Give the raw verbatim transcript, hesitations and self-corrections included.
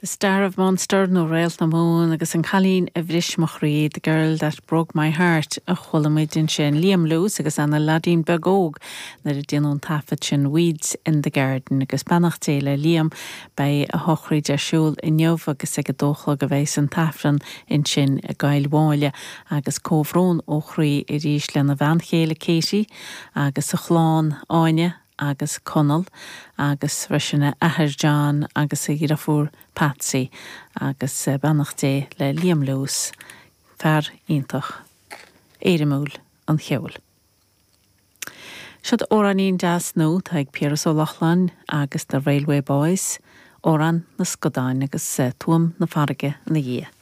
The Star of Munster nó Réalt na Mumhan agus an cailín a bhris mo chroí, The Girl That Broke My Heart a chuala muid ansin Liam Lewis agus Anna leaidín beag óg nuair a déanadh an taifead sin Weeds in the Garden agus beannacht Dé le Liam beidh a shochraid ar siúl inniu agus ag a dó a chlog a bheidh an t-aifreann ansin i gCill Mháille agus comhbhrón ó chroí arís lena bhean chéile Katie agus a chlann Áine agus Conall agus freisin a athair John agus a dheirfiúr Patsy agus eh, beannacht Dé le Liam Lewis fear iontach éirimiúil an cheoil. Siod amhráinín deas nua tá ag Piaras Ó Lochlainn agus the Railway Boys, Amhrán na Scadán agus eh, tuam na farraige ina dhiaidh.